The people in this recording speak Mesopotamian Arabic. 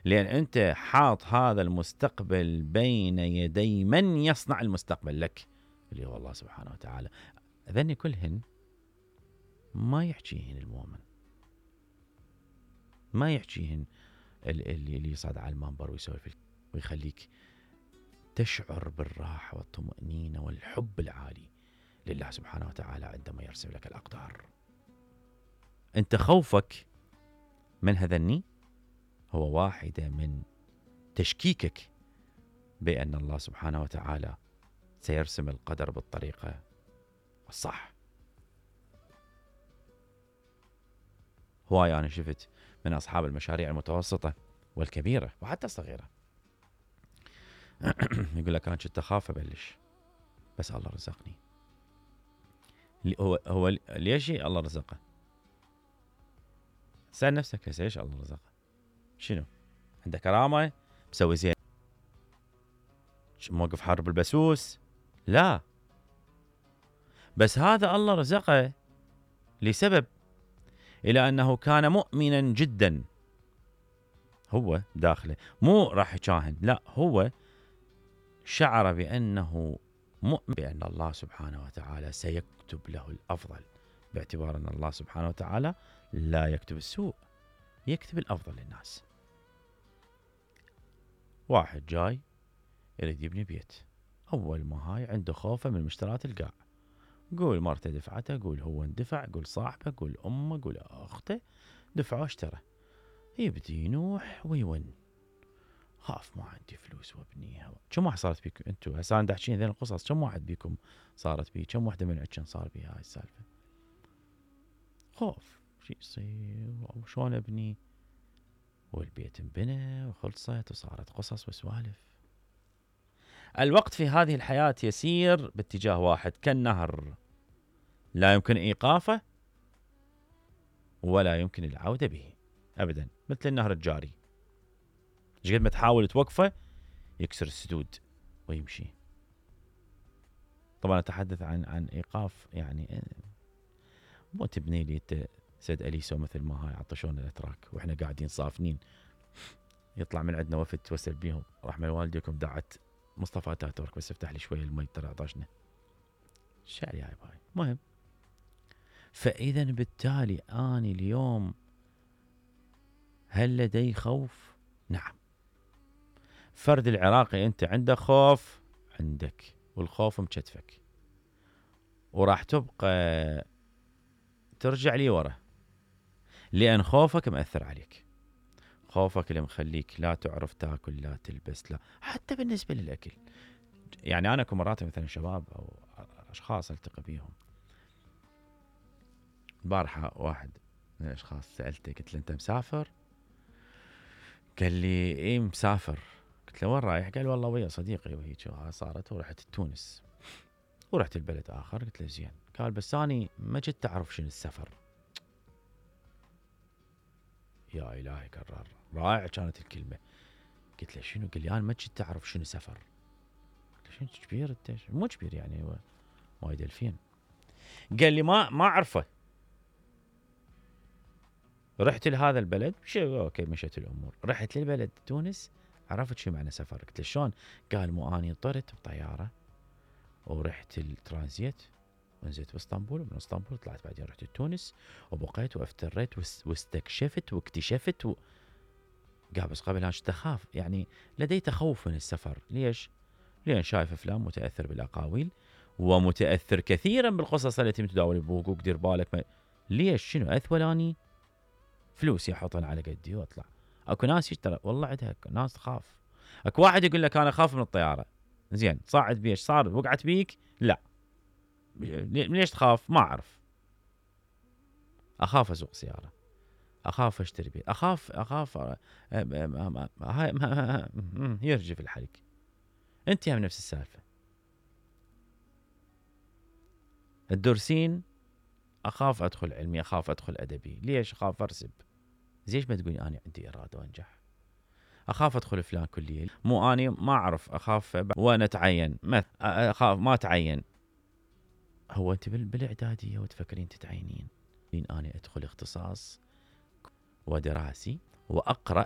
لأن أنت حاط هذا المستقبل بين يدي من يصنع المستقبل لك، اللي هو الله سبحانه وتعالى. ذني كلهن ما يحكيهن المؤمن، ما يحكيهن اللي يصعد على المنبر ويسولف ويخليك تشعر بالراحة والطمأنينة والحب العالي لله سبحانه وتعالى عندما يرسم لك الأقدار. أنت خوفك من هذني هو واحدة من تشكيكك بأن الله سبحانه وتعالى سيرسم القدر بالطريقة الصح. هواي أنا شفت من أصحاب المشاريع المتوسطة والكبيرة وحتى الصغيرة يقول لك أنا كنت أخاف أبلش بس الله رزقني. هو ليش الله رزقه؟ سأل نفسك ليش الله رزقه؟ شنو؟ عنده كرامة؟ مسوي زين؟ موقف حرب البسوس؟ لا، بس هذا الله رزقه لسبب، إلى أنه كان مؤمنا جدا. هو داخله مو راح يشاهن، لا، هو شعر بأنه مؤمن بأن الله سبحانه وتعالى سيكتب له الأفضل، باعتبار أن الله سبحانه وتعالى لا يكتب السوء، يكتب الأفضل للناس. واحد جاي يريد يبني بيت، أول ما هاي عنده خوفه من مشترات القاع، قول مرته دفعته، قول هو اندفع، قول صاحبه، قول أمه، قول أخته، دفعه اشترى، يبدي ينوح ويون. خاف ما عندي فلوس وابنيها. كم واحد صارت بيكم انتو هسه انا احكي ذي القصص؟ كم واحد بيكم صارت بيه؟ كم واحده من عندكم صار بيها هاي السالفه؟ خوف شو يصير وشلون ابني، والبيت انبنى وخلصت وصارت قصص وسوالف. الوقت في هذه الحياه يسير باتجاه واحد كالنهر، لا يمكن ايقافه ولا يمكن العوده به ابدا، مثل النهر الجاري، ايش قد ما تحاول توقفه يكسر السدود ويمشي. طبعا اتحدث عن ايقاف، يعني مو تبني لي سيد اليسو مثل ما هاي عطشونا الاتراك واحنا قاعدين صافنين، يطلع من عندنا وفد توسل بيهم رحمه والديكم دعت مصطفى اتاتورك بس افتح لي شويه المي ترى عطشنا. الشعر يا باي. مهم، فاذا بالتالي اني اليوم هل لدي خوف؟ نعم. فرد العراقي انت عندك خوف، عندك، والخوف مكتفك، وراح تبقى ترجع لي ورا، لأن خوفك مأثر عليك، خوفك اللي مخليك لا تعرف تاكل، لا تلبس، لا حتى بالنسبة للأكل. يعني أنا مرات مثلا شباب أو أشخاص ألتقي بيهم، البارحة واحد من الأشخاص سألته قلت له أنت مسافر؟ قال لي إيه مسافر. قلت له وين رايح؟ قال والله ويا صديقي وهيك صارت ورحت تونس ورحت البلد آخر. قلت له زين. قال بس أني ما جيت أعرف شنو السفر. يا إلهي كرر، رائع كانت الكلمة. قلت له شنو؟ قال لي أنا ما جيت أعرف شنو سفر. قلت له شنو كبير أنت؟ مو كبير يعني، هو وايد ألفين. قال لي ما أعرفه، رحت لهذا البلد أوكي مشيت الأمور، رحت للبلد تونس عرفت شو معنى سفر. قلت له شلون؟ قال مو أني طرت بطيارة ورحت الترانزيت ونزلت باسطنبول، ومن اسطنبول طلعت بعدين رحت تونس وبقيت وافتريت واستكشفت واكتشفت قال بس قبل أنا أخاف، يعني لدي تخوف من السفر. ليش؟ لأن شايف أفلام، متأثر بالأقاويل، ومتأثر كثيرا بالقصص التي تداول بوقوق دير بالك. ليش؟ شنو أثولاني فلوسي أحطن على قدي وأطلع. أكو ناس ترى والله عندها ناس تخاف. أكو واحد يقول لك أنا أخاف من الطيارة، زين صعد بيش صار وقعت بيك؟ لا. ليش تخاف؟ ما أعرف. أخاف أسوق سيارة، أخاف أشتري بيت، أخاف يرجف الحريق. أنت هم نفس السالفة. الدرسين أخاف أدخل علمي، أخاف أدخل أدبي. ليش؟ أخاف أرسب. زيش ما تقولي أنا عندي إرادة وأنجح. أخاف أدخل فلان كلية، مو أني ما أعرف، أخاف وأنا أتعين، أخاف ما أتعين. هو أنت بالإعدادية وتفكرين تتعينين؟ أنا أدخل اختصاص ودراسي وأقرأ